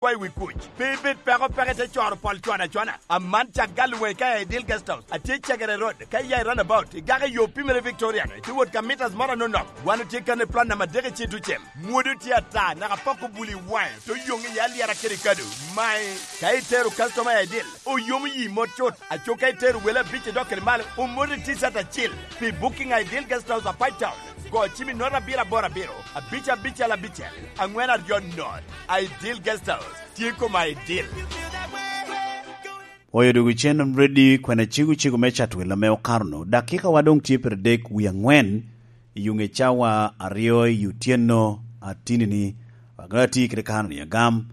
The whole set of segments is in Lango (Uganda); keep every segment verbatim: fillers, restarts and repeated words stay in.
Wa i wi kuc. Pe ibed peko peko ite coro pol cwana cwana. Aman cak gal weŋ ka i Ideal Guest House. Atye i Cegere Road, ka iya i runabout, igaka i yo pimere Victoria, ite wot ka mitas moro anonok. Wan otye kan i plot namba adek i Citucem. Mwodo tye ata, naka pok obuli waŋe, to yoŋ iye alyera kede kado. Mae, ka itero customer i Ideal, oyomo yi mot cut. Aco ka itero wele abic i dok kede malo, omot i T-shirt acil. Pi booking i Ideal Guest House, Apac Town, go cim i note abiro aboro abiro, abic abicel abicel, aŋwen aryo note. Ideal Guest House, tye koma Ideal. Oyo dwogo cen ready kwene cego cego me Chatwel ame okato-nu. Dakikawa doŋ tye pire dek wie aŋwen i yuŋ ecawa aryo i otyeno atini-ni. Agara tye kede kano-ni agam,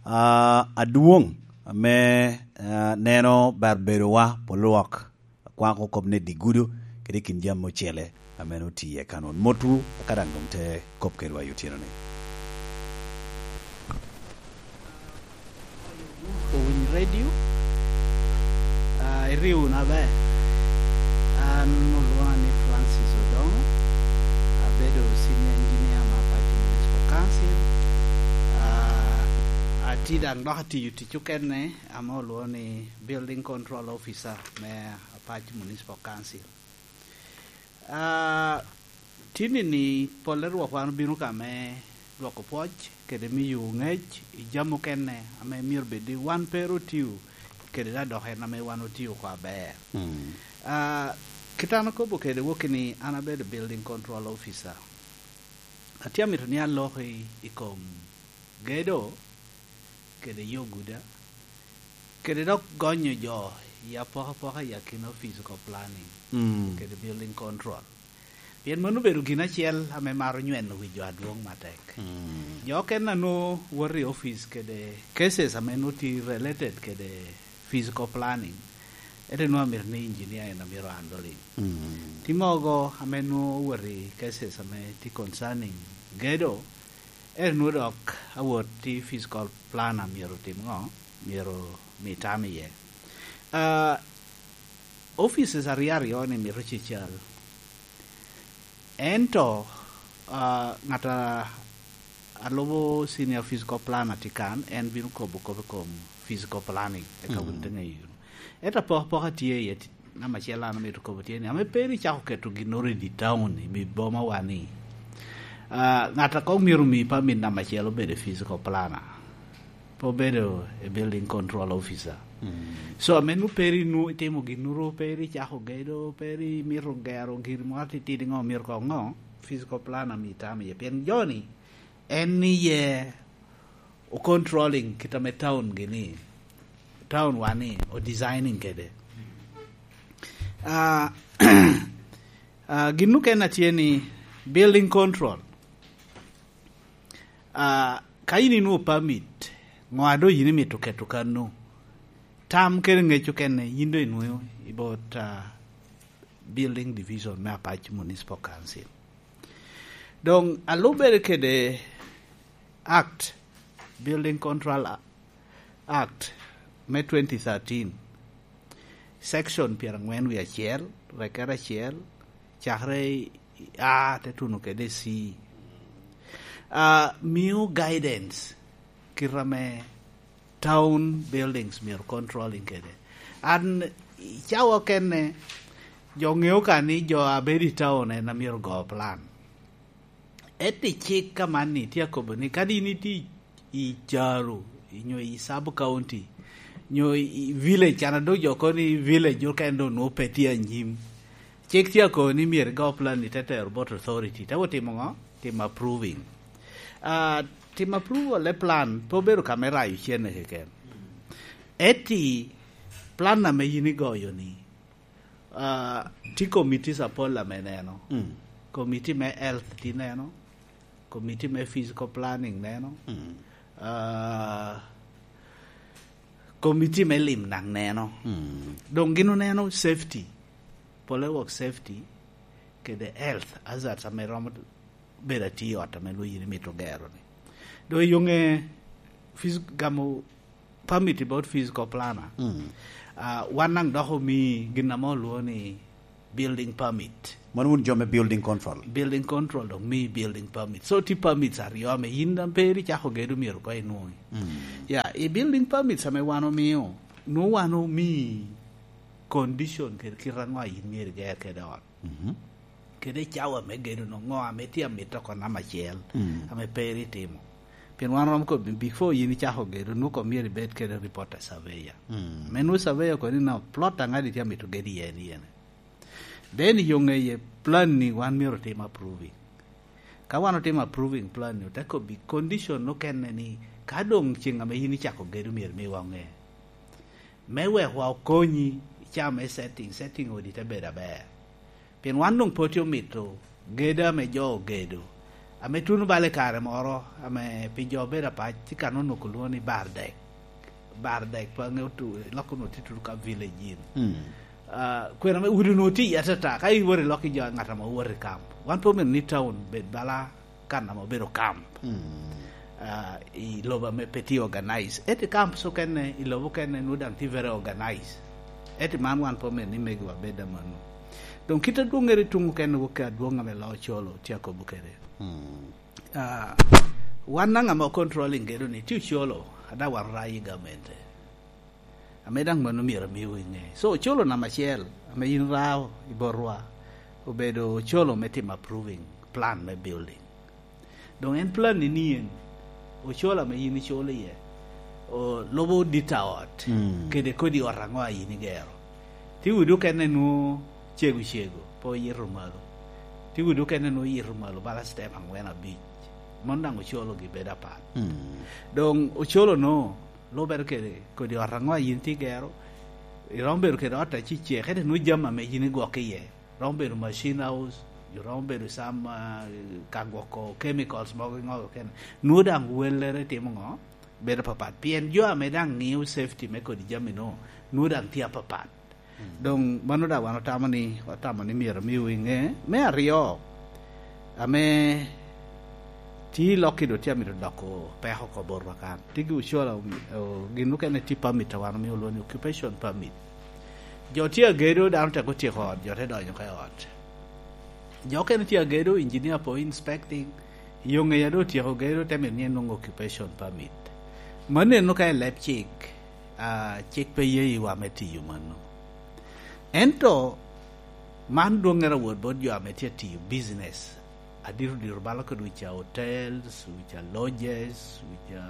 ah, adwoŋ ame, ah, neno ber bedowa pol lwak. Akwako kop ni digudo kede kin jami ocele ame nwoŋo tye i kanun. Motwu, eka daŋ doŋ te kop kedwa i otyeno-ni. Owiny Radio, ah, iriwo wunu aber. An olwoŋa ni Francis Odongo, abedo senior engineer me Apac Municipal Council. Ah, atye daŋ dok atiyo tic okene ame olwoŋo ni Building Control Officer me Apac Municipal Council. Ah, tini-ni polle rwok wan obino ka me dwoko pwoc kede miyo ŋec i jami okene ame myero bed ni wan pe ru otio kede dok en ame wan otio oko aber. Mm. Ah, kit an akobo kede wokki ni an abedo Building Control Officer. Atye amito ni alok i, i kom gedo kede yo guda, kede dok gonyo jo i apokapoka i akina physical planning, mm, kede building control. Pien mano obedo gin acel ame maro nyweno wi jo adwoŋ matek. Mm. Jo okene a nwoŋo woto i opic kede cases ame nwoŋo tye related kede physical planning, ento nwoŋo amito ni engineer en amito handling. Mm. Tye mogo ame nwoŋo owoto i cases ame tye concerning gedo, ento nwoŋo dok awot i physical planner myero otim ŋo? Myero mi tam iye. Ah, offices aryo aryo ni mito cecal. Ento, ah, ŋat a, a lubo senior physical planner tye kan, en bino kobo kop i kom physical planning, eka wun, mm, ite ŋeyo. Ento apokapoka tye iye, ti-, namba acel an amito kobo tye ni, ame pe ri icako keto ginnoro i di town, i bi boma wa ni, ah, ŋat a kong myero omi permit namba acel obedo physical planner, pe obedo a building control officer. Mm. So, ame nwoŋo pe ri nwoŋo itimo ginnoro, pe ri icako gedo, pe ri imito gero gin moro atitidi ŋo, myero kong ŋo, physical planner mi tam iye. Pien joni, en iye o controlling kit ame town gini, town wa ni, o designing kede. Ah, ah, gin okene a tye ni building control. Ah, ka yin inwoŋo permit, ŋo a doŋ yin imito keto kano? Tam kede ŋec okene, yin doŋ inwoŋo i bot, ah, building division me Apac Municipal Council. Doŋ alubere kede Act, Building Control Act me twenty thirteen, section pyeraŋwen wie acel, rekere acel, cakere i A te tuno kede C. Ah, mio guidance kit ame town buildings myero controlling kede. An, i cawa okene, jo ŋeo ka ni jo a bedo i town en a myero go plan. Ento i cik ka man ni tye akobo ni kadi in itye i caro, nyo i sub county, nyo i village, an adok jo kono ni village okene doŋ nwoŋo pe tye anyim. Cik tye akobo ni myero igo plan ni te tero bot authority, te otimo ŋo? Timo approving. Ah, timo approval e plan pe obedo ka me rayo cene keken. Eti plan ame yin igoyo ni, ah, tye committees apol ame neno. Mm. Committee me health tye neno, committee me physical planning neno, mm, ah, committee me lim daŋ neno. Mm. Doŋ gin oneno safety, pole wok safety, kede health hazards ame romo bedo atye i ot ame lwonyo ni mito gero ni. Doŋ i yoŋe phys-, gamo permit about physical planner. Mm. Ah, wan daŋ dok omi gin ame olwongo ni building permit. Mano wun jo me building control? Building control dok mii building permit. So, tye permits aryo ame yin daŋ pe icako gedo myero koŋ inwoŋi. Mm. Ya, i building permits ame wan omio, nwoŋo wan omii condition kede kite aŋo a yin myero iger kede ot. Mhm. Kede cawa me gedo no, ŋo ame tye amito oko namba acel, mm, ame pe itimo. Pien wan romo kobo ni, before yin icako gedo, nwoŋo koŋ myero ibed kede report a surveyor. Mm. Ame nwoŋo surveyor kobo ni, "No, plot aŋadi tye amito gedo iye ni ene." Then i yo ŋeye, plan ni wan myero otim approving. Ka wan otimo approving plan ni, ote kobbi condition okene ni, ka doŋ ceŋ ame yin icako gedo myero miwa oŋe. Me wek wa okonyi, icaa me setting, setting odi te bedo aber. Pien wan doŋ pe otye omito gedo ame jo ogedo, ame tuno bala i kare moro, ame pi jo obedo apac, tye ka nonok olwoŋo ni bar dek. Bar dek, pe aŋeo tu-, lok onwoŋo tye tutu ka village in. Mm. Ah, kwena me udi onwoŋo tye iye atata, ka iwoto i lok i jo, ŋat ame owoto i camp. Wan pe omito ni town bed bala kan ame obedo camp. Mm. Ah, i lobo ame pe tye organize. Ento i camps okene, i lobo okene, nwoŋo daŋ tye very organize. Ento man wan pe omito ni megiwa bed amanno. Doŋ kit adwoŋŋere tuŋ okene wok adwoŋ ame loo Ocolo tye akobo kede. Mm. Ah, wan daŋ ame controlling gedo ni tye Ocolo, ada wan rayi gamente. Ame daŋ mano myero amiwu iŋe. So, Ocolo namba acel, ame yin rao i botwa, obedo Ocolo me timo approving plan me building. Doŋ en plan ni nien, Ocolo ame yin iculo iye, o, lubo dit a ot, mm, kede kodi ot aŋo a yin igero. Tye udi okene nwoŋo cego cego, pe oyito malo. Tye udi okene nwoŋo oyito malo, bala step aŋwen abic. Mano daŋ Ocolo gi bedo apat. Mm. Doŋ Ocolo no, lubere kede kodi ot aŋo a yin tye igero, iromo bedo kede ot acecek, ento nwoŋo jami ame yin igwoko iye. Romo bedo machine house, jo romo bedo sam, ah, ka gwoko chemicals mogo i ŋo kene. Nwoŋo daŋ wellere timo ŋo? Bedo papat. Pien jo ame daŋ ŋio safety me kodi jami no, nwoŋo daŋ tye apapat. Mm. Doŋ mano daŋ wan otamo ni, otamo ni myero omiwu iŋe. Me aryo, ame tye i lok-ki doŋ tye amito doko peko oko botwa kan. Tye gi Ocolo, o, gin mukene tye permit a wan omio olwoŋo ni occupation permit. Jo tye agedo, dano tek otyeko ot, jo te donyo oko i ot. Jo okene tye agedo, engineer pe inspecting, yo ŋeya doŋ otyeko gedo, te mito ni enwoŋ occupation permit. Maneno ka i leb cik, ah, cik pe ye yiwa me tiyo mano. Ento man dwoŋŋere awot bot jo ame tye atiyo business, adito dito bala kede wica hotels, wica lodges, wica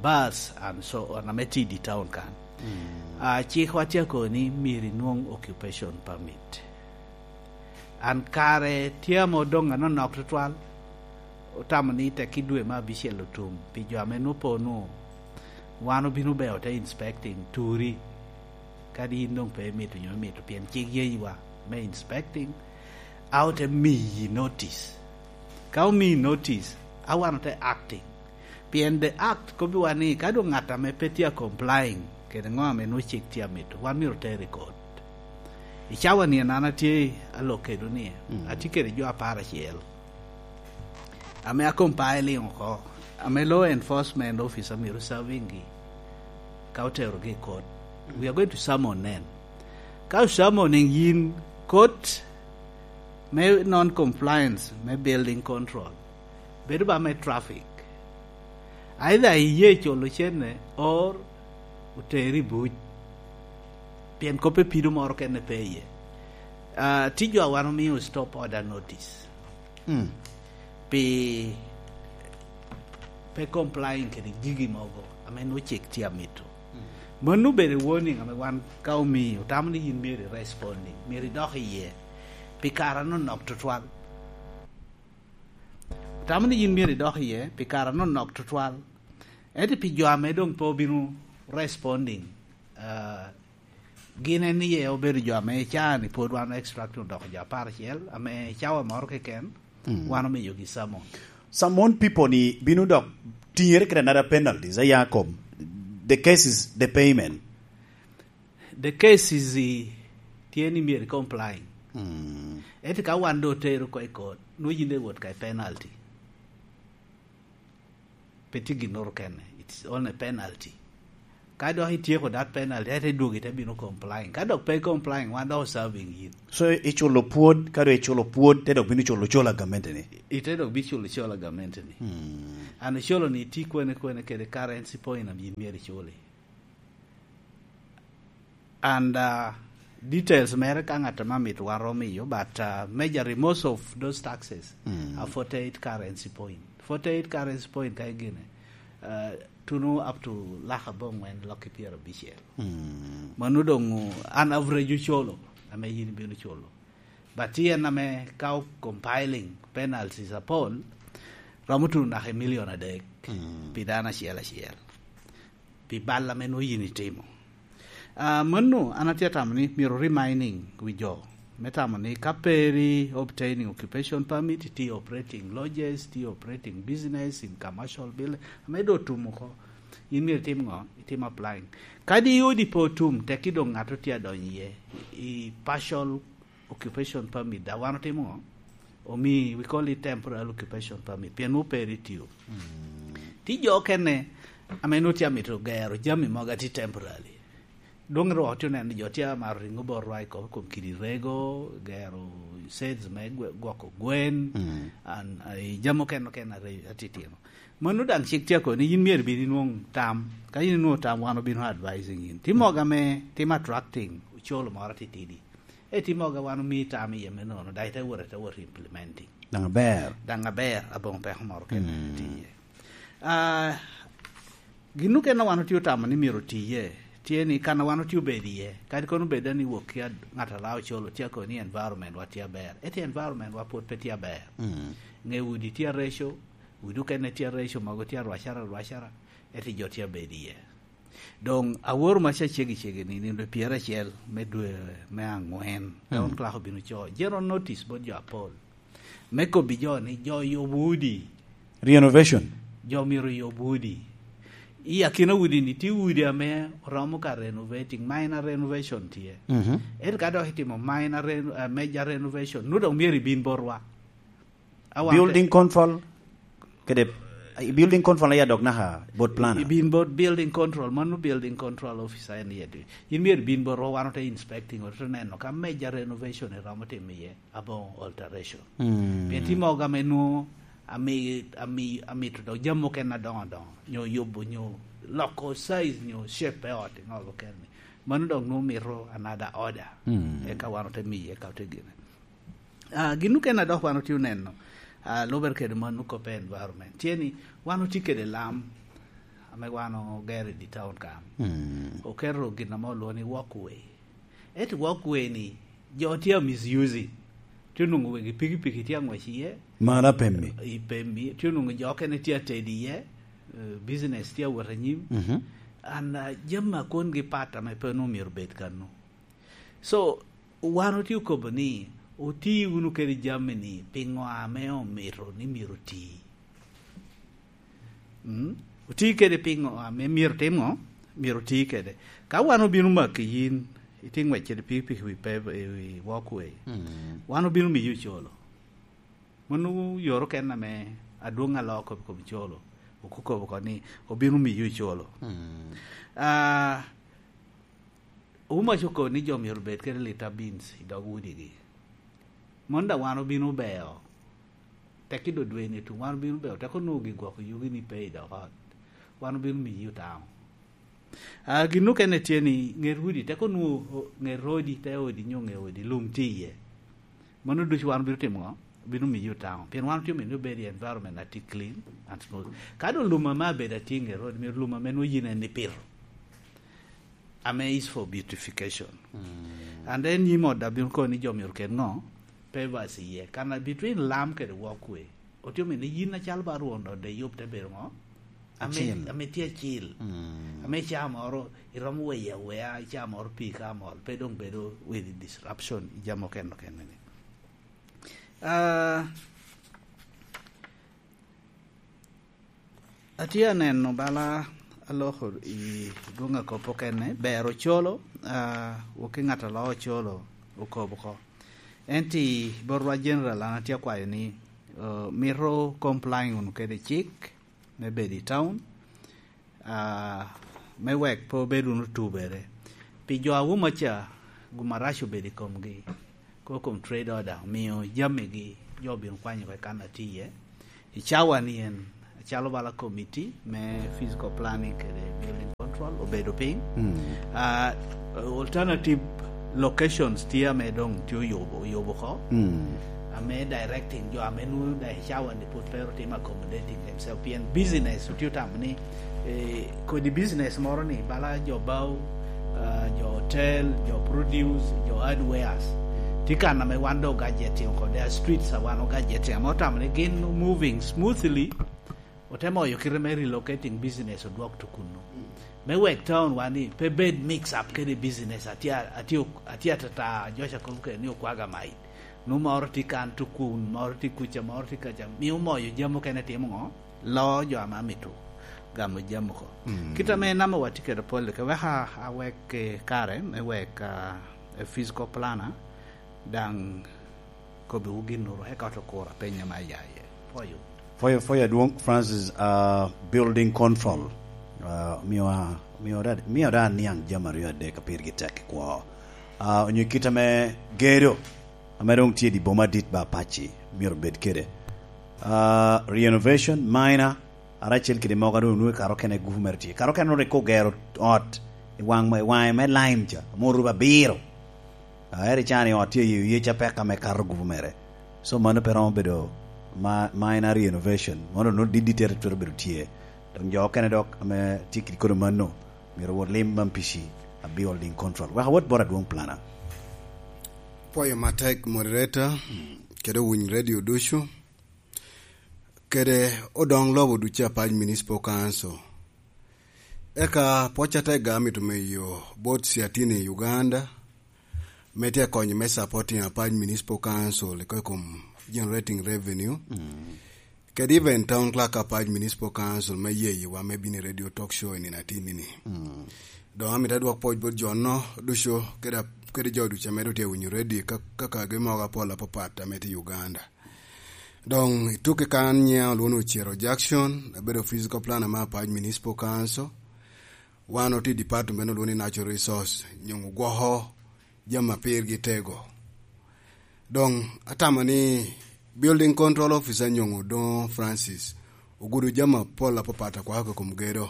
bars and so on, ame tye i di town kan. Mm. Ah, cikwa tye akobo ni myero inwoŋ occupation permit. An kare tye ame odoŋ anonok tutwal, otamo ni tek i dwe me abicel otum, pi jo ame nwoŋo po nwoŋo wan obino beo te inspecting turi, kadi in doŋ pe imito nyo imito, pien cik yeyiwa me inspecting, a ote miyi notice. Ka omiyi notice, a wan ote acting. Pien the act kobbiwa ni ka doŋ ŋat ame pe tye a complying kede ŋo ame nwoŋo cik tye amito, wan myero oter i kot. I cawa ni an atye alok kedwu ni, mm, atye kede jo apar acel ame a compiling oko, ame law enforcement officer myero serving gi ka oterogi i kot. We are going to summon them. Ka o summoning yin kot me non compliance me building control, bedo ba me traffic. Either iye culo cene or oteri i buc. Pien kop epido moro kene pe iye. Ah, tye jo a wan omio stop order notice. Mm. Pi pe complying kede gigi mogo ame nwoŋo cik tye amito. Mm. Mano obedo warning ame wan ka omii, otamo ni yin myero i responding, myero idok iye pi kare anonok tutwal. Otamo ni yin myero idok iye pi kare anonok tutwal. Ento pi jo ame doŋ pe obino responding, ah, gin en iye obedo jo ame icaa ni pwod wan extract odoko jo apar acel, ame cawa moro keken, mm, wan omiyogi summon. Summon people ni bino dok tiŋere kede another penalties, aya kom the case is the payment. The case is, eh, tye ni myero i complying. Mm. Ento ka wan do otero oko i court, nwoŋo yin de wot ka i penalty. Pe tye ginnoro kene. It's only penalty. Ka dok ityeko that penalty, ete dwogo ite bino complying. Ka dok pe complying, wan dok serving yin. So, iculo pwod, ka dok iculo pwod, te dok bino culo cola gamente ni? Ite dok biculo cola gamente ni. Hmm. An ocolo ni iti kwene kwene kede currency point am yin myero iculi. And, uh, details mere ka ngat ma mito waro miyo, but, uh, majorly most of those taxes, mm, are forty-eight currency point. Forty-eight currency point ka igine, uh, tuno up to lak abongwen lok i pyerabicel. Mm. Mano doŋ an average ocolo, ame yin ibino culo. But tye en ame ka o compiling penalties apol, romo tuno naka i milion adek, mm, pi dano acel acel, pi bal ame nwoŋo yin itimo. Ah, mano, an atye atamo ni myero reminding wi jo me tamo ni ka pe iri obtaining occupation permit, iti operating lodges, iti operating business in commercial building, ame do otum oko, yin myero itim ŋo? Itim applying. Kadi odi pe otum, tekki doŋ ŋat otye adonyo iye, i partial occupation permit, da wan otimo ŋo? Omi, we call it temporary occupation permit, pien nwoŋo pe iri tiyo. Mm. Ti jo okene, ame nwoŋo tye amito gero jami mogo ati temporary. Doŋ ru otye oneno jo tye amaro riŋo bot rwa i kom, kom kidi rego, gero sheds me gwe-, gwoko gwen, mm, an, a, i jami okene okene are-, atitino. Mano daŋ cik tye akoni, yin myero ibin inwoŋ tam. Ka yin inwoŋo tam, wan obino advising yin. Ti mogo ame tim attracting ocolo moro atitidi. E ti mogo wan omi tam iye me nono, daŋ ite wot, ite wot implementing. Daŋ aber. Daŋ aber, aboŋo peko moro kene, mm, tye iye. Ah, gin okene wan otye otamo ni myero oti iye, tye ni kan a wan otye obedo iye, kadi kono obed ni wok ki ad-, ŋat a lao ocolo, tye akoni environment wa tye aber. Ento environment wa pwod pe tye aber. Mm. Ŋe udi tye areco, udi okene tye areco, mogo tye arwacara, arwacara, ento jo tye abedo iye. Doŋ aworo maca ceggi ceggi ni, nino pyeracel me dwe me aŋwen, mm, town clerk obino co general notice bot jo apol. Me kobbi jo ni jo oyubo udi. Renovation. Jo myero oyub udi. I akina udi ni, tye udi ame oromo ka renovating, minor renovation tye. Mhm. Ento ka dok itimo minor reno-, eh, major renovation, nwoŋo doŋ myero ibin botwa. Awan te- Building control, kede, eh, building control aye adok naka bot planner? Ibin bot building control, mano building control officer en iye. Yin myero ibin botwa, wan ote inspecting, ote neno ka major renovation eromo timo iye. Aboŋo alteration. Mm. Pien tye mogo ame nwoŋo ami-, ami-, amito dok jami mukene adoŋo adoŋo, nyo yubo, nyo loko size, nyo shape pe ot i ŋolo kene. Mano dok nwoŋo mito another order. Mm. Eka wan ote miye, eka ote gine. Ah, gin okene a dok wan otye oneno, ah, lubere kede mano kop environment. Tye ni wan otye kede lam ame wan ogero i di town kan. Mm. Oketo gin ame olwoŋo ni walkway. Ento walkway ni, jo tye a misusing. Tye onwoŋo wegi pikipiki tye aŋwec iye. Mano apemmi. I pemmi. Tye onwoŋo jo okene tye atedo iye. Eh, business tye awot anyim. Mhm. And, uh, jami a kongi pat ame pe onwoŋo myero obed kano. So, wan otye okobo ni, oti wunu kede jami ni, piŋo ame omito ni myero oti? Mm? Oti kede piŋo ame myero tim ŋo? Myero oti kede. Ka wan obino maki yin, itye ŋwec kede pikipiki wi pe-, i wi walkway, mm, wan obino miyi ocolo. Mano yore okene ame adwoŋ aloo kop i kom colo. Okobo oko ni obino miyi ocolo. Mm. Ah, Omac okobo ni jo myero obed kede lita beans i dog udigi. Mano daŋ wan obino beo. Tek i dwe ni tuŋ wan obino beo, tek onwoŋo gi gwoko yugi ni pe i dog ot. Wan obino miyi otamo. Ah, gin okene tye ni ŋet udi, tek onwoŋo o-, ŋet odi, te odi nyo ŋe odi, lum tye iye. Mano ducu wan obino timo ŋo? Obino miyi otamo. Pien wan otye omito ni obed i environment atye clean and smooth. Ka doŋ lum ame abedo atye i ŋet odi, myero lum ame nwoŋo yin en ipito. Ame is for beautification. Mm. And then nyim ot daŋ bino kono ni jo myero ket ŋo? Pavers iye. Kana between lam kede walkway. Otye omito ni yin acalo ba rwon ot daŋ iyub te bedo ŋo? Ame, acil. Ame tye acil. Mm. Ame ca moro iromo weyo aweya, ca moro pii ka mol, pe doŋ bedo with disruption i jami okene okene ni. Ah, atye aneno bala aloko i dwoŋ akop okene, ber ocolo, ah, wok i ŋat a loo ocolo okobo oko. Ento i botwa general, an atye akwayo ni, eh, mito complying wunu kede cik me bedo i town. Ah, Me wek pe obed wunu otubere. Pi jo a Wuma ca, gum arac obedo i komgi. Ko kom trade order, omiyo jamigi jo obino kwanyo oko i kan atye iye. I cawa ni en, acalo bala committee me physical planning kede building control obedo piny. Mm. Ah, alternative locations tye ame dong tye oyubo, oyubo oko. Mm. Ame directing jo ame nwoŋo da i cawa ni pwod pe otimo accommodating themselves. Pien business otye otamo ni, eh, kodi business moro ni, bala jo bao, ah, jo hotel, jo produce, jo hardwares. Tye kan ame wan dong gadgeting oko, there are streets a wan ogadgeting, ame otamo ni gin moving smoothly, ote moyo kite me relocating business odwok to kunnu. Me wek town wan ni pe bed mix up kede business, atye, atye, atye atata, Josh akobo kede ni okwaga mai. Nu moro tye kan to kun, moro tye kuca, moro tye kaca. Mio moyo jami okene timo ŋo? Loo jo ame amito gamo jami oko. Mm. Kit ame namo watye kede pol, ke wek a, awek, eh, kare, me wek, ah, a physical planner, daŋ kobbiwu ginnoro, eka oto kuro apenyo ame aya iye. Pwoyo. Pwoyo, pwoyo adwoŋ, Francis, ah, building control. Ah, miwa, miwa da, miwa da aniaŋ jami aryo adek a pirgi tek i kwo. Ah, onyo kit ame gedo, ame doŋ tye i dye boma adit ba Apac-ci, myero obed kede. Ah, renovation, minor, ara acel kede mogo a doŋ onwoŋo i kare okene gupu mere tye. Kare okene rik ogero ot i waŋ, i waŋe me lime ca, ame oruba abiro. Ah, ere can i ot tye i yec apek ame kato gupu mere. So mano pe romo bedo ma, minor renovation. Mano nwoŋo didi tere twero bedo tye. Dok jo okene dok ame tye kede kodo mano, myero wot lim man pici a building control. Wek awot bot adwoŋ plana. Pwoyo matek moderator, kede owiny radio ducu, kede odoŋ lobo ducu Apac Municipal Council. Eka pwoc atega amito miyo bot Siatini i Uganda, me tye konyo me supporting Apac Municipal Council i kom generating revenue. Mm. Kede even town clerk Apac Municipal Council me yeyewa me bino i radio talk show i nino atinni-ni. Mm. Doŋ amito adwok pwoc bot jo-no ducu, kede, kede jo ducu ame doŋ tye winyo radio ka, ka kagi mogo apol apapat ame tye i Uganda. Doŋ i tuke kan nyiŋa olwoŋo ni Ocero Jackson, abedo physical planner me Apac Municipal Council. Wan otye i department olwoŋo ni Natural Resource, nyoŋo gwoko jami a pirgi tego. Doŋ atamo ni building control officer nyoŋo Odoŋo Francis ogudo jami apol apapat a kwako i kom gedo.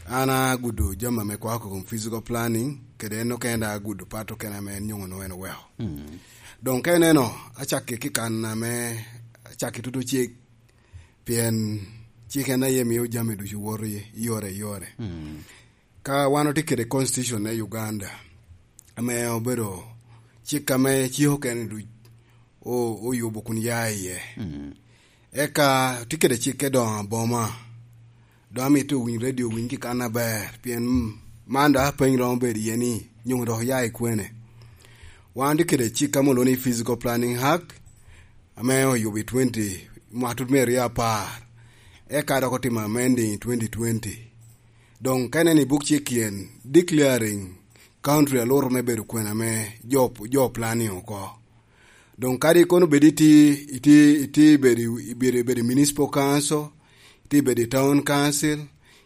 An agudo jami ame kwako i kom physical planning, kede en okene agudo pat okene ame en nyoŋo nwoŋo en oweko. Mm. Doŋ ka ineno, acakke ki kan ame, acakke tutu cik, pien cik en aye mio jami ducu woto i yore, i yore. Mm. Ka wan otye kede constitution me Uganda, ame obedo cik ame cik okene duc o-, oyubo kun ya iye. Mm. Eka tye kede cikke doŋ aboma. Doŋ amito owiny radio, owiny ki kan aber, pien man doŋ apeny romo bedo iye ni, nyoŋo dok oya i kwene. Wan tye kede cik ame olwoŋo ni Physical Planning Act, ame oyubo i twenty, mwaka tut me aryo apar. Eka dok otimo amending i twenty twenty. Doŋ ka ineno i buk cik en, declaring country aluro me bedo kwena me jo, jo planning oko. Doŋ kadi kono bed iti, iti, iti bedo, bedo, bedo i municipal council, iti bedo i town council,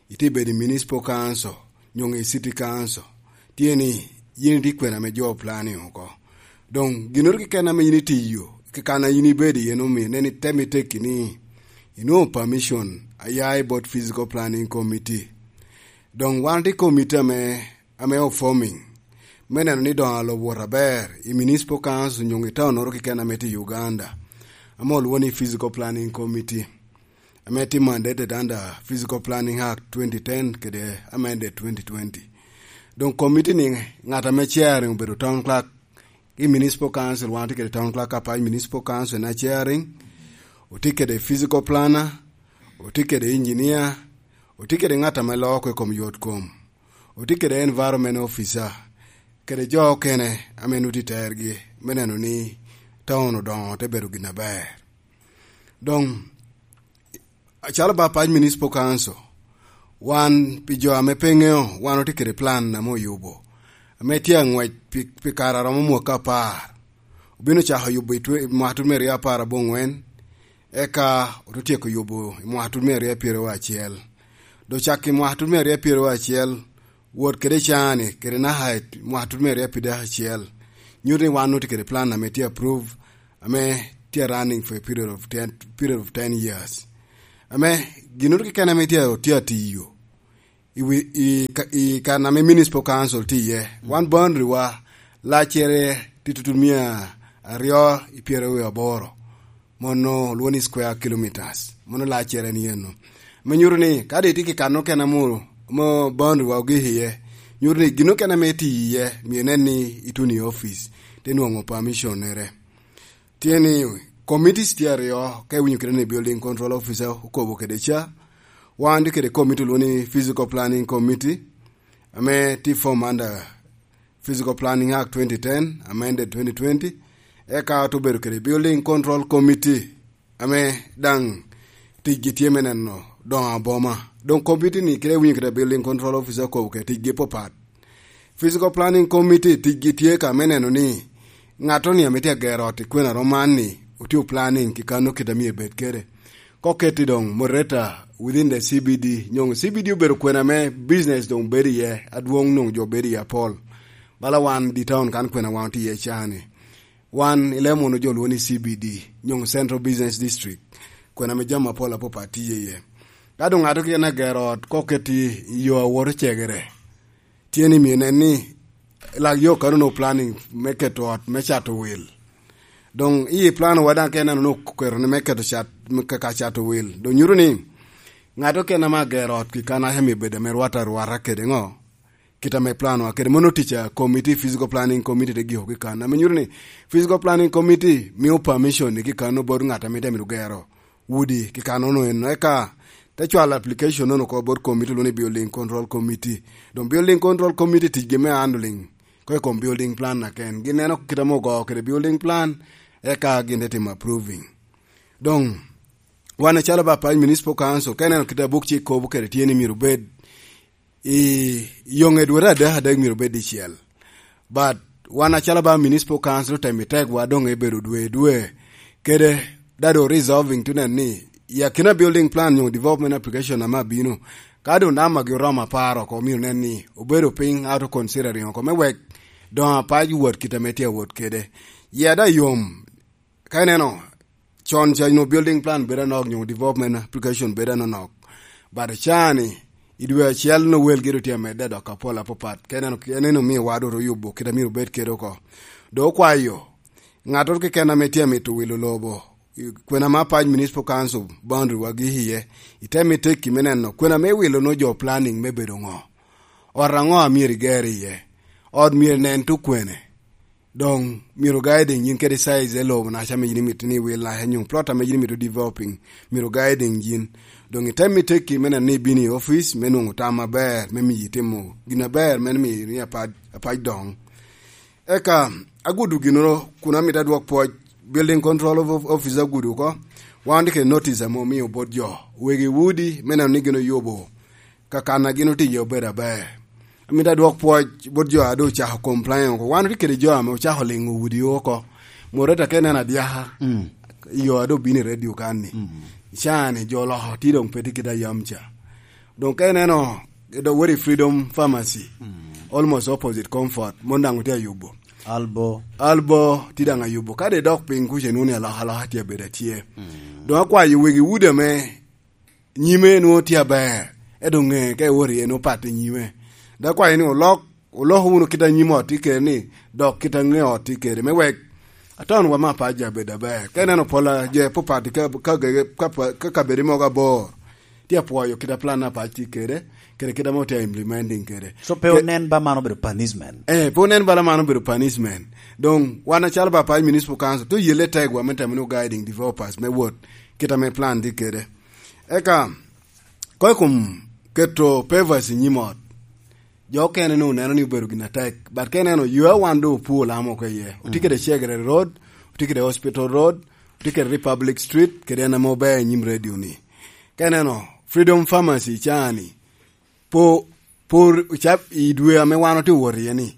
iti bedo i municipal council, nyoŋ i city council, tye ni yin iti kwena me jo planning oko. Doŋ ginnoro keken ame yin itiyo, kekana yin ibedo iye, omio nen item itekki ni inwoŋo permission a ya i bot physical planning committee. Doŋ wan tye committee ame, ame o forming, me neno ni doŋ alobo wot aber i municipal council nyoŋ i taunoro keken ame tye i Uganda, ame olwoŋo ni Physical Planning Committee, ame tye mandated under Physical Planning Act twenty ten kede amended twenty twenty. Doŋ committee ni ŋat ame chairing obedo town clerk i municipal council, wan otye kede town clerk Apac Municipal Council na chairing, otye kede physical planner, otye kede engineer, otye kede ŋat ame loo oko i kom yot kom, otye kede environment officer, kede jo okene ame nwoŋo tye i tergi me neno ni town odoŋo te bedo gin aber. Doŋ, acalo ba Apac Municipal Council, wan pi jo ame pe ŋeo, wan otye kede plan ame oyubo, ame tye aŋwec pi, pi kare a romo mwaka apar. Obino cako yubo i twe-, i mwaka tut me aryo apar aboŋwen, eka oto tyeko yubo i mwaka tut me aryo pyeraryo acel. Doŋ cak i mwaka tut me aryo pyeraryo acel, wot kede cani, kede naka i mwaka tut me aryo pyeraryo acel, nyuto ni wan otye kede plan ame tye approve, ame tye running for a period of ten, period of ten years. Ame ginnoro keken ame tye, tye atiyo i wi, i ka, i kan ame Municipal Council tye iye. Wan boundary wa laccere tye tutu mia aryo i pyeraryo aboro. Mono olwongo ni square kilometers. Mono laccere ni eno. Me nyuto ni, kadi itye ki kan okene amo, mo boundary wa ogik iye, nyuto ni gin okene ame itye iye, myero inen ni ituno i office, te nwoŋo permission-nere. Tye ni, committees tye aryo, ka iwinyo kede ni building control officer okobo kede ca, wan tye kede committee olwongo ni physical planning committee, ame tye form under Physical Planning Act twenty ten, amended twenty twenty, eka ote obedo kede building control committee, ame daŋ ticgi tye me neno doŋo aboma. Doŋ committee ni kede winyo kede building control officer okobo kede ticgi papat. Physical Planning Committee ticgi tye ka me neno ni ŋattoni ame tye agero ot i kwena roman ni otye planning ki kano kit a myero ebed kede. Ka oketi doŋ moderator within the C B D, nyoŋ C B D obedo kwena me business doŋ bedo iye, adwoŋ nwoŋo jo bedo iye apol. Bala wan di town kan kwena wan otye iye cani. Wan i Lemon jo lwongo ni C B D, nyoŋ Central Business District, kwena me jami apol apapat tye iye. Ka doŋ ŋato keken agero ot, ka oketi i yo a woto cegere, tye ni myero nen ni lak yo kano no planning me keto ot me cato wil. Doŋ i plan wa daŋ ka ineno ni oketo ni me keto cat, me ka, ka cato wil. Doŋ nyuto ni ŋato keken ame agero ot ki kan aca myero bed ame rwata arwata kede ŋo? Kit ame plan wa kede. Mono tic a committee, physical planning committee te giko ki kan. Ame nyuto ni physical planning committee mio permission ni ki kan bot ŋat ame te mito gero udi ki kanono eno. Eka te cwalo application nono oko bot committee olwongo ni building control committee. Doŋ building control committee ticgi me handling ko i kom building plan na ken. Gin neno kit ame ogo kede building plan, eka gin te timo approving. Doŋ, wan acalo ba Apac Municipal Council, ka ineno kit a buk cik kobo kede tye ni myero obed i yoŋe dwete adek adek myero obed dicel. But wan acalo ba Municipal Council otemo i tegwa doŋ ebedo dwe dwe. Kede dado resolving to nen ni, i akina building plan nyo development application ame abino, ka doŋ namba gi oromo apar oko, myero nen ni obedo piny, ato considering oko me wek doŋ Apac wot kit ame tye awot kede. Ya da yom, ka ineno, con ca nyo building plan bedo anok, nyo development application bedo anonok. But cani, i dwe acel no welgi ru tye amedde dok apol apapat. Ka ineno, en en omio wa dot oyubo kit amyero obed kede oko. Dok okwayo, ŋattoro keken ame tye amito wilo lobo, i kwena ma Apac Municipal Council boundary wa gik iye, iteme tekki me neno, kwena me wilo no jo planning me bedo ŋo? Ot aŋo amyero iger iye? Ot myero nen tukwene? Doŋ myero guiding yin kede size e lobo naca ame yin imito ni iwil naca nyo plot ame yin imito developing, myero guiding yin. Doŋ item i tekki me neno ni ibino i office me nwoŋo tam aber, me miyi timo gin aber, me miyi ni Apac, Apac doŋ. Eka agudo ginoro kun amito adwok pwoc, building control of, of, office agudo oko. Wan tye kede notice ame omio bot jo, wegi udi, me neno ni gin oyubo ka kan a gin otiye obedo aber. Amito adwok pwoc bot jo a doŋ ocako complain oko. Wan otye kede jo ame ocako liŋo udi oko. Moderator ka ineno adyaka, mm, i yo a doŋ bino i radio kan ni. Mm. Cani jo oloko tye doŋ pe tye kit a yam ca. Doŋ ka ineno, doŋ wot i Freedom Pharmacy, mm, almost opposite Comfort, mon daŋ otye ayubo. Albo. Albo tye daŋ ayubo. Ka doŋ idok piny kuca inwoŋo ni alokaloka tye abedo atye. Mm. Doŋ akwayo wegi udi ame nyime nwoŋo tye aber, ento ŋe ka iwot iye nwoŋo pat i nyime. Dok akwayo ni olok, olok wunu kit a nyim ot tye kede ni, dok kit a ŋe ot tye kede, me wek aton wa me Apac abed aber. Ka ineno pol a jo apapat ka, ka, ka, ka, ka kabedo mogo abor, tye apwoyo kit a plan Apac tye kede, kede kit ame otye implementing kede. So pe onen ba man obedo punishment? Eh, pe onen bala man obedo punishment. Doŋ wan acalo ba Apac Municipal Council, tye oyelle tegwa me temo ni guiding developers me wot kit ame plan tye kede. Eka, ko i kom keto pavers i nyim ot, jo okene nwoŋo neno ni obedo gin atek. But ka ineno, yo a wan doŋ opur lam oko iye. Otye kede Chegere Road, otye kede Hospital Road, otye kede Republic Street, kede en ame ober i nyim radio ni. Ka ineno, Freedom Pharmacy cani, po, por, cap i dwe ame wan otye wot iye ni,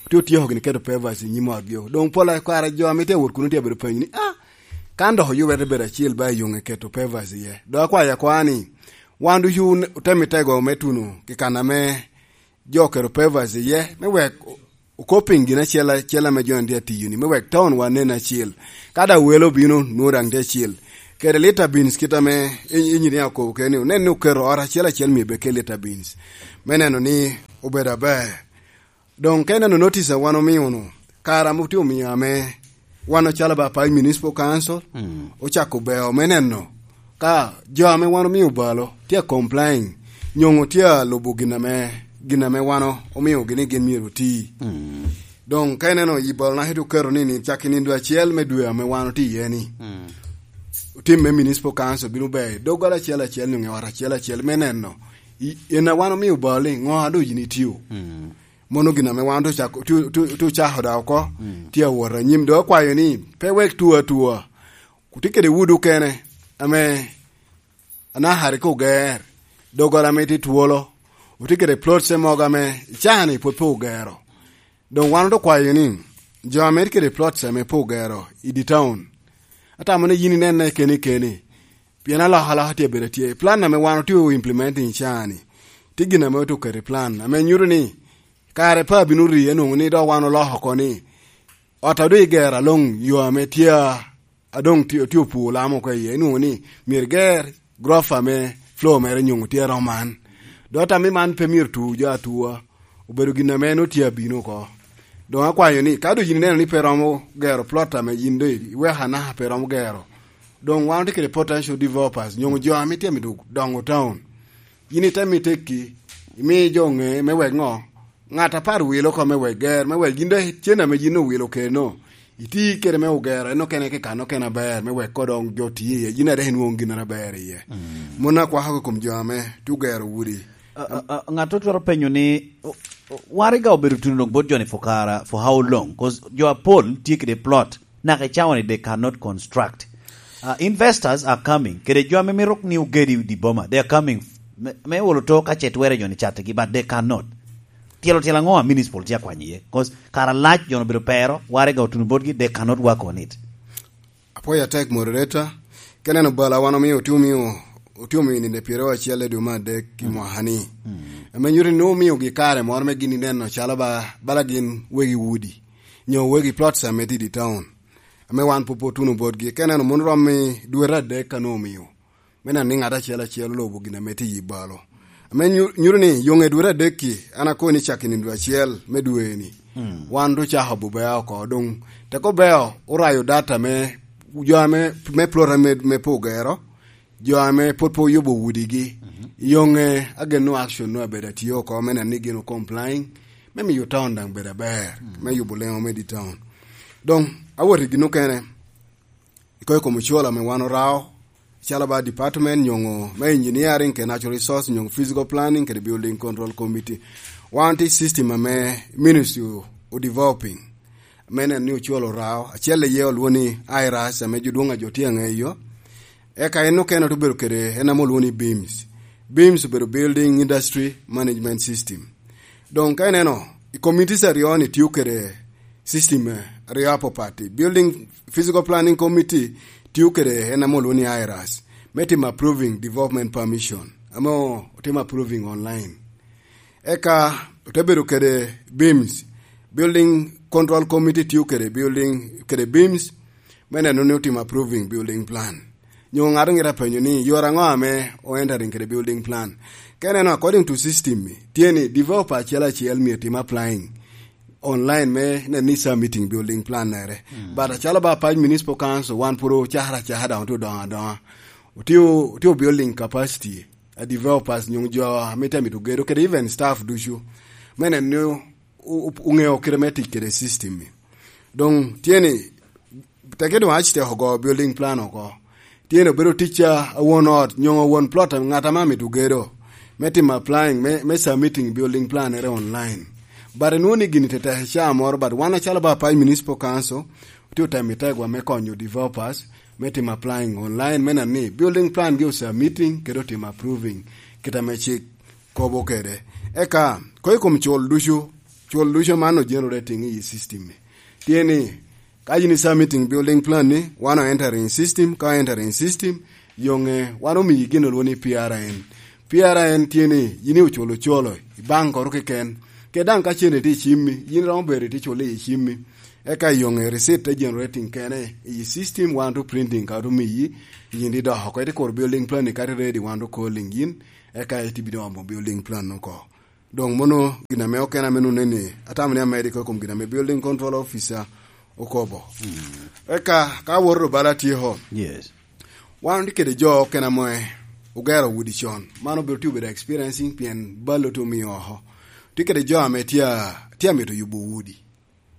otye otyeko gini keto pavers i nyim otgi. Doŋ pol a kare jo ame tye awot kuno tye abedo penyo ni, "Ah, kan dok oyubere bedo acel ba i yoŋe keto pavers iye." Doŋ akwayo akwa ni, Wan ducu otemo i tego me tuno kikana me jo kero pevas iye, me wek okoping gin acel acel ame jo tye atiyo ni, me wek town wa nen acil. Ka da welo obino, nwoŋo daŋ tye acil. Kede lita beans kit ame i- inyini akobo kene ni, onen ni oketo ot acel acel myero bed ke lita beans. Me neno ni obedo aber. Doŋ ka ineno notice a wan omio-nu, kara ame otye omio ame wan ocalo ba Apac Municipal Council, ocako beo me neno ka jo ame wan omio balo tye a complain, nyoŋo tye a lubo gin ame, gin ame wan omiogi ni gin myero oti. Doŋ ka ineno i balo naka ite oketo ni, ni cak i nindo acel me dwe ame wan otye iye ni, otim me Municipal Council bino beo i doggola acel acel, nyoŋo i ot acel acel me neno, i- en a wan omio balo ni, ŋo a doŋ yin itio? Mono gin ame wan otu cako, otu, otu, otu cako da oko, tye awot anyim. Dok akwayo ni, pe wek tuo atua. Otye kede wud okene, ame anakari ka oger, doggola ame tye twolo, otye kede plots mogo ame icaa ni pwod pe ogero. Doŋ wan otu kwayo ni, jo ame tye kede plots ame pe ogero i di town, atamo ni yin inenne keni keni, pien alokaloka tye abedo atye. Plan ame wan otye implementing caa ni, tye gin ame otu keto i plan, ame nyuto ni, kare pe abino ri, anwoŋo ni dok wan oloko oko ni, ot a doŋ igero aloŋ yo ame tye a, a doŋ tye, tye opur lam oko iye, inwoŋo ni myero iger gurofa me floor mere nyoŋo tye aromo man. Dok ata me man pe myero tu jo atua, obedo gin ame en otye abino oko. Doŋ akwayo ni, ka doŋ yin ineno ni pe romo gero plot ame yin doŋ iweko anaka pe romo gero, doŋ wan otye kede potential developers, nyoŋo jo ame tye amito doŋo town. Yin itemo itekki, imi jo ŋe me wek ŋo? Ŋat apar wilo oko me wek ger, me wek yin dok cen ame yin owilo keno, iti kede me ogero, en okene ke kan okene aber, me wek ko doŋ jo ti iye, yin a dok inwoŋo gin aber iye. Mon akwako kom jo ame tye ogero udi. A- a- a- ŋat otwero penyo ni, o- o- waraga obedo tuno doŋ bot joni for kara, for how long? 'Cause jo apol tye kede plot, naka i cawa ni they cannot construct. Uh, investors are coming. Kede jo ame mito ni ogedi di boma, they are coming. Me, me olo to ka ce twere joni catigi, but they cannot. Tyelo tyelo aŋo a municipal tye akwanyo iye? 'Cause kara lac joni obedo pero, waraga otuno botgi, they cannot work on it. Apwoyo atek, moderator. Ka ineno bala wan omio, otye omio, otye omio nino pyeraryo acel i dwe me adek i mwaka ni. Ame nyuto ni nwoŋo omiogi kare moro me gin ineno calo ba, bala gin wegi udi, nyo wegi plots ame tye i di town, ame wan pwod pe otuno botgi. Ka ineno mono romo i dwete adek ka nwoŋo omio, me neno ni ŋat acel acel olubo gin ame tye i balo. Ame nyu-, nyuto ni yoŋe dwete adek-ki, an akobo ni cak i nino acel me dwe-ni, wan doŋ cako bubea oko. Doŋ teko beo orayo data me jo ame, me plot ame, me pe ogero, jo ame pwod pe oyubo udigi. Yoŋe ageno action nu abedo atye oko me neno ni gin o complying, me miyo town daŋ bedo aber, me yubo leŋo me di town. Doŋ awot i gin okene, i koi kom ocwolo ame wan orao, calo ba department nyoŋo me engineering kede natural resource nyoŋo physical planning kede building control committee. Wan tye system ame ministry o, o developing, me neno ni ocwolo orao, acel iye olwoŋo ni IRAS ame jo dwoŋ a jo tye aŋeyo. Eka en okene obedo kede en ame olwoŋo ni BIMS. BIMS obedo Building Industry Management System. Doŋ ka ineno, i committees aryo ni tio kede system, eh, aryo apapat. Building Physical Planning Committee tio kede en ame olwoŋo ni IRAS, me timo approving development permission, ame otimo approving online. Eka ote bedo kede BIMS, Building Control Committee tio kede building, kede BIMS, me neno ni otimo approving building plan. Nyo ŋat ŋit apenyo ni, yore aŋo ame o entering kede building plan? Ka ineno, according to system ni, tye ni developer acel acel myero tim applying online me neno ni submitting building plan nere. But acalo ba Apac Municipal Council, wan pwod ocakere acaka, daŋ otye odoŋo adoŋa. Otye, otye building capacity a developers nyo jo ame tye amito gedo, kede even staff ducu. Me neno ni o-, o-, oŋeo kite me tic kede system ni. Doŋ tye ni, teke doŋ aci teko go building plan oko. Tye ni obedo ticca a won ot, nyo won plot, ŋat ame amito gedo, me timo applying, me, me submitting building plan ere online. But inwoŋo ni gini tetek ca moro, but wan acalo ba Apac Municipal Council, otye otemo i tegwa me konyo developers, me timo applying online, me neno ni building plan gi o submitting, kede otimo approving, kit ame cik kobo kede. Eka, ko i kom cul ducu, cul ducu man o generating i system ni. Tye ni, ka yin i submitting building plan ni, wan o entering system, ka o entering system, yoŋe, wan omiyi gin olwoŋo ni P R N. Pien en tye ni yin oculo ocolo i bank oro keken, kede daŋ ka cente tye i cimmi, yin romo bedo itye culo i cimmi. Eka iyoŋe receipt te generating kene i system, wan to printing ka to miyi, yin idoko oko, ite kuro building plan ni kadi ready, wan to calling yin, eka ite bino omo building plan oko. Doŋ mono gin ame okene ame nonne ni atamo ni amedde i kom gin ame building control officer okobo. Eka ka awoto bala atyeko, Yes. Wan tye kede jo okene ame ogero udi con. Man obedo tye obedo experiencing pien bal otye omiyo oko. Tye kede jo ame tye a-, tye amito yubo udi.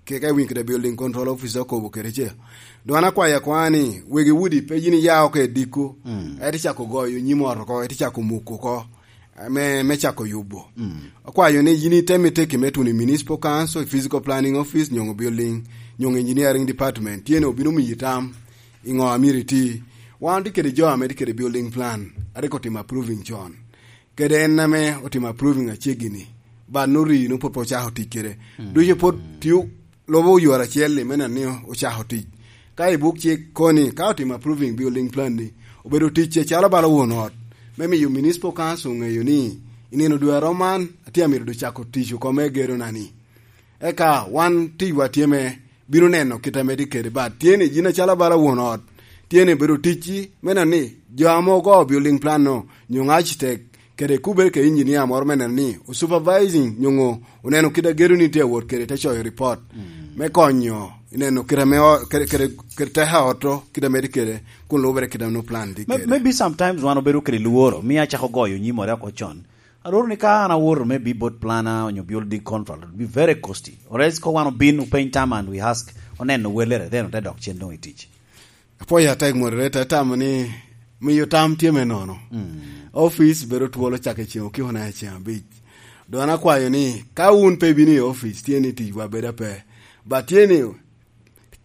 Keka iwinyo kede building control officer okobo kede ce. Doŋ an akwayo akwaya ni, wegi udi pe yin iya oko i diko, Mm. ete cako goyo nyim ot oko, ete cako muko oko, me, me cako yubo. Mm. Akwayo ni yin itemi teki me tuno i municipal council, i physical planning office, nyoŋo building, nyoŋo engineering department. Tye ni obino miyi tam, i ŋo a myero iti. Wan otye kede jo ame tye kede building plan, a rik otimo approving con. Kede en ame otimo approving aceggi-ni, but no rii no pwod pe ocako tic kede. Mm. Ducu pwod tio lobo oyore acel-li me neno ni ocako tic. Ka i buk cik koni, ka otimo approving building plan-ni, obedo tic acalo bala won ot, me miyo municipal council ŋeyo ni i nino dwe arom man, atye amito doŋ cako tic oko me gedo-na-ni. Eka wan ticwa tye me bino neno kit ame tye kede, but tye ni yin acalo bala won ot, tye ni bedo ticci me neno ni jo ame ogo building plan-no, nyo architect, kede kubere kede engineer moro me neno ni o supervising nyoŋo oneno kit a gedo-ni tye awot kede, te coyo report Mm. me konyo i neno kit ame o-, kede, kede, kede teko a ot-to, kit ame tye kede, kun lubere kit ame plan tye Me-, kede. Maybe sometimes wan obedo kede lworo, mi acako goyo nyim ore oko con. Alworo ni ka an awoto maybe bot planner onyo building contractor, it would be very costly. Or else ko wan obin openy tam and we ask, oneno welere, then ote dok cen doŋ i tic. Apwoyo atek moderator, atamo ni miyo tam tye me nono. Mm. Office bedo twolo cak i ceŋ okiko na i ceŋ abic. Doŋ an akwayo ni ka wun pe ibino i office, tye ni ticwa bedo ape. But tye ni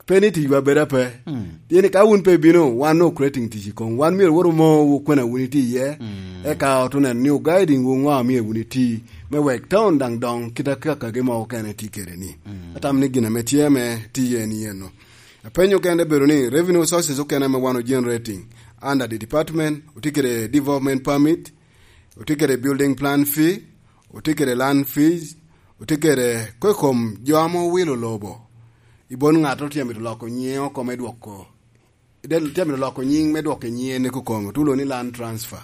pe ni ticwa bedo ape. Mm. Tye ni ka wun pe ibino, wan no creating tic i kom. Wan myero wot omo kwena wun itye iye. Mm. Eka ot oneno ni o guiding wu ŋo a myero wun iti. Me wek town daŋ doŋ kit akakagi mo okene tye kede ni. Mm. Atamo ni gin ame tye me tiye en yen no. Apenyo okene bedo ni revenue sources okene ame wan o generating under the department, otye kede development permit, otye kede building plan fee, otye kede land fees, otye kede ko i kom jo ame owilo lobo. I bon ŋat otye amito loko nyiŋe oko me dwoko, del-, tye amito loko nyiŋ me dwoko i nyiŋe ni kukom, otulo ni land transfer.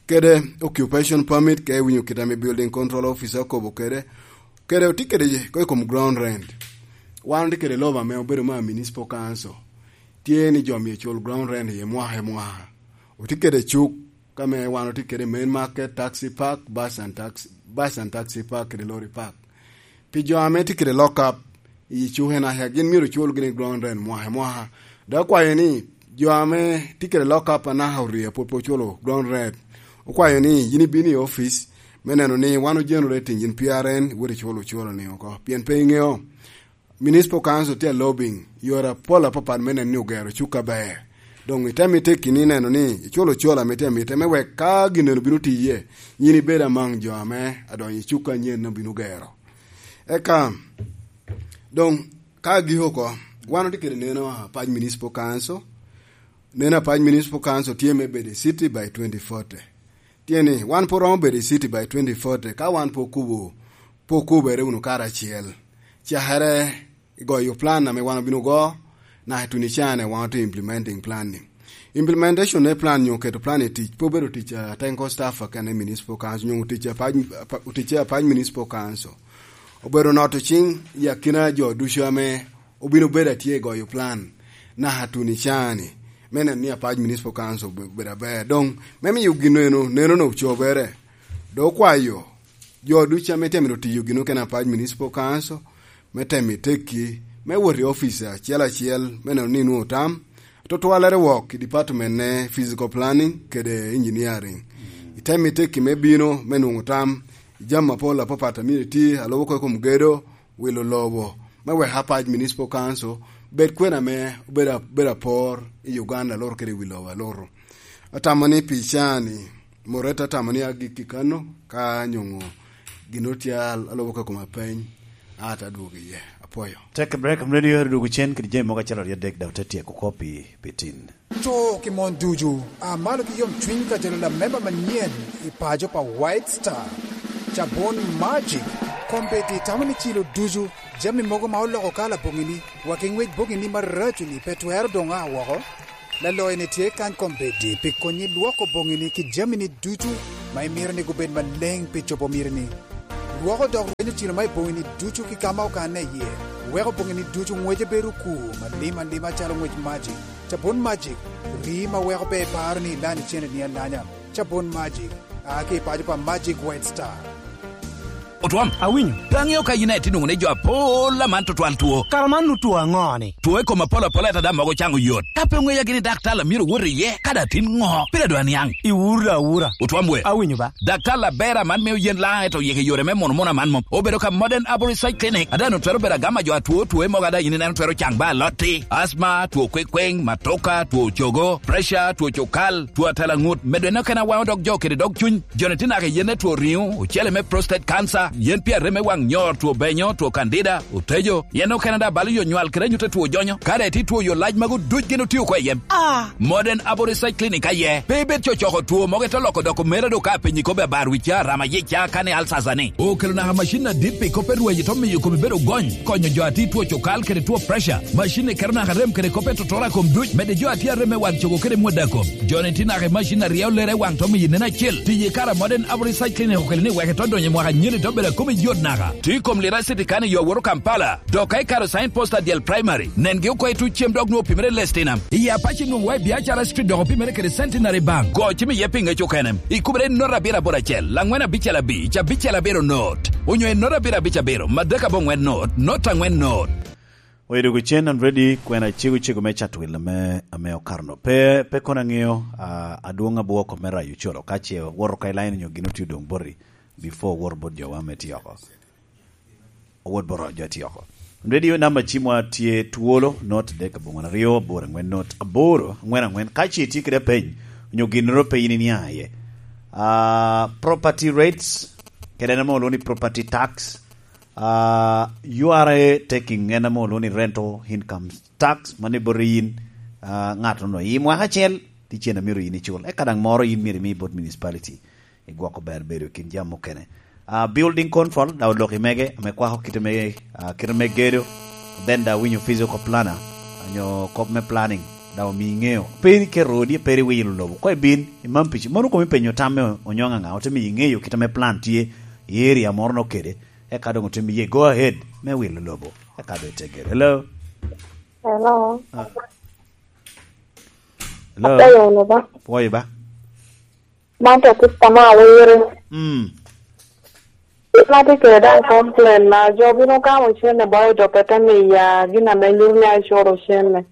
Kede occupation permit, ka iwinyo kit ame building control officer okobo kede, kede otye kede ko i kom ground rent. Wan otye kede lobo ame obedo ma municipal council. Tye ni jo myero cul ground rent i mwaka i mwaka. Otye kede cuk ka me wan otye kede main market, taxi park, bus and taxi, bus and taxi park, kede lorry park. Pi jo ame tye kede lock up i cuke naca, gin myero ocul gini ground rent mwaka i mwaka. Dok akwayo ni jo ame tye kede lock up anaka orye pwod pe oculo ground rent, okwayo ni yin ibino i office me neno ni wan o generating in P R N, iwot iculo ocolo ni oko. Pien pe iŋeo, municipal council tye a lobbying yore apol apapat me neno ni ogero cuk aber. Doŋ itemi tekki ni neno ni iculo ocolo ame tye amite me wek ka gin eno bino tiye, yin ibed among jo ame adonyo i cuk anyen obino gero. Eka, doŋ, ka agiko oko, wan otye kede neno apac municipal council. Neno apac municipal council tye me bedo i city by twenty forty. Tye ni, wan pwod romo bedo i city by twenty forty, ka wan pwod kubo, pwod kubere wunu karacel. Cakere i goyo plan ame wan obino go, naka i tunicane wan otye implementing plan ni. Implementation me plan nyo keto plan i tic, pe obedo tic a technical staff akene i municipal council, nyo tic apac, apa-, tic apac municipal council. Obedo noto cing i akina jo ducu ame obino bedo atye i goyo plan, naka tunicane, me neno ni apac municipal council obe-, obedo aber. Doŋ, me miyo gin eno, neno no ocobere. Doŋ okwayo jo ducu ame tye mito tiyo gin okene apac municipal council, me temo i tekki, me wot i office acel acel, me neno ni inwoŋo tam, atutwalere wok i department ne physical planning kede engineering. Itemo i tekki me bino, me nwoŋo tam, i jami apol apapat a myero iti, alubo oko i kom gedo, wilo lobo, me wek apac municipal council bed kwena ame obedo a-, bedo apor i Uganda, aluto kede i wi lobo aluto. Atamo ni pi caa-ni, Moreta atamo ni agikki kano, ka nyoŋo gin otye al-, alubo ka koma peny, ata dwogo iye. Apwoyo. Take a break, I'm ready to do cen kede jami mogo acel aryo adek, dok te tyeko kop i, pi tin. Cuk i mon ducu, a malo ki yomcwiny ka jalo lamemba manyen i paco pa White Star. Cabun Magic, kombeddi tamo ni cilo ducu, jami mogo ma oloko kala boŋini, wa ki ŋwec boŋini maraco-ni pe twero doŋ a woko. Laloyo-ni tye kany kombeddi pi konyi lwoko boŋini ki jamini ducu ma imito ni gubed maleŋ pi cobo mitini. Lwoko dok rwenyo cilo ma i boŋini ducu ki ka ma okanne iye, weko boŋini ducu ŋwece bedo okur malim alima calo ŋwec Magic. Cabun Magic, rii ma weko pe iparo ni ilany icenneni alanya. Cabun Magic, a ki i paco pa Magic White Star. Otwom. Awinyo. Pe aŋeo ka yin aye tye nwoŋo ni jo apol aman tutwal two. Kara man nu two aŋo-ni? Two i kom apol apol, ento daŋ mogo caŋo yot. Ka pe oŋeya gini daktar a myero owot iye, kadi atin ŋo, pire doŋ aniaŋ. Iwuro awura. Otwom we. Awinyo ba. Daktar aber aman mio yen laŋ, ento yeke yore me muno muno aman mom. Obedo ka Modern Arborist Research Clinic, a daŋ twero bedo agama jo atwo, two mogo a daŋ yin ineno twero caŋ ba alotti, asma, two kwekweŋ, matoka, two cogo, pressure, two cukal, two atalaŋut, medo en okene awaŋo dog jo kede dog cuny. Joni tye naka i yen me two riŋo, ocele me prostate cancer, yen pi arem me waŋ nyor, two benyo, two candida, otejo, yen okene daŋ balo yo nywal kede anyut a two jonyo. Kare tye two yo lac magu duc gin otio oko i yem. Ah! Modern Abo Research Clinic aye. Pe ibed cocoko two mogo ite loko doko mera do ka apenyi kobbi abar wica, rama yica, kani alsasa ni. Okelo naka macin adit pi kop pe rweny ito miyo komi bedo gony, konyo jo ati two cokal kede two pressure. Macin ni keto naka rem kede kop pe totora kom duc, mede jo ati arem me waŋ cogo kede mwada kom. Joni tye naka i macin a ryeo lere i waŋ to miyo nen acel. Tiyo i kare a Modern Abo Research Clinic okelo ni wek ito donyo i mwaka anyira ito bedo a komi yot naka. Tye i kom lira city kani yo awoto Kampala. Dok ka ikaro sign post adyel primary, nengi oko i tuc cem dok nwoŋo opimere i Lestinam. I Apache nwoŋo wa i Biacara Street dok opimere kede Centenary Bank. Go cim iye pi ŋec okene. Ikubere i note abiro aboro acel, laŋwen abicel abic, abicel abiro note. Onyo i note abiro abic abiro, madek aboŋwen note, note aŋwen note. Oyo dwogo cen and ready, kwena cego cego me Chatwil ame, ame okato no. Pe, pe kono aŋeo, ah, adwoŋ abwoko me rayo ocolo, ka ce woto ka i line onyo gin otye odoŋ boti, before owoto bot jowa me tye oko. Owot bot jo a tye oko. Radio namba cimwa tye twolo, not adek aboŋwen aryo, aboro aŋwen not aboro, aŋwen aŋwen. Ka ce itye kede apeny, onyo ginnoro pe in iniaŋ iye. Ah, property rates, kede en ame olwoŋo ni property tax, ah, U R A taking, en ame olwoŋo ni rental income tax, mano i bot in, ah, ŋat onwoŋo i mwaka acel, tye cen a myero in icul. Eka daŋ moro in myero imi bot municipality. I gwoko ber bedo i kin jami mukene. Ah, building control, daŋ olok i mege, ame kwako kite me, ah, kite me gedo, then daŋ winyo physical planner, onyo kop me planning, daŋ omi iŋeo. Pe in iketo odi, pe in iwilo lobo. Kwa ibin, imam pici. Mano komi penyo tam me onyoŋ aŋa, ote miyo iŋeyo kite me plan tye i area moro no kede, eka doŋ ote miye go ahead me wilo lobo. Eka doŋ ite gedo. Hello? Hello. Ah. Hello? Apeyo wunu ba? Pwoyo ba? Man to sista me awiri. Mm. Gin ma tye kede daŋ complain na jo bino gamo cene ba odope te miya gin ame nyuto ni acoro cene.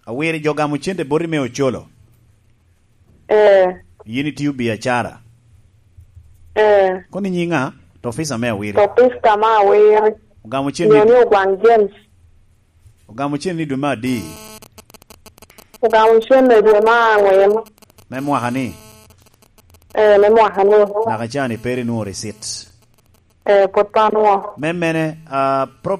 Awiri jo gamo cente boti me ocolo? Eh. Yin itiyo biacara? Eh. Kono inyiŋa? To officer me awiri. To officer me awiri. Ogamo cene ni Ogwang James. Ogamo cene ni dwe me adi? Ogamo cene dwe me aŋwen. Me mwaka ni? Eh, me mwaka ni. Naka ca ni pe rinwoŋo receipt? Eh, pwod pe anwoŋo. Me mene, ah, property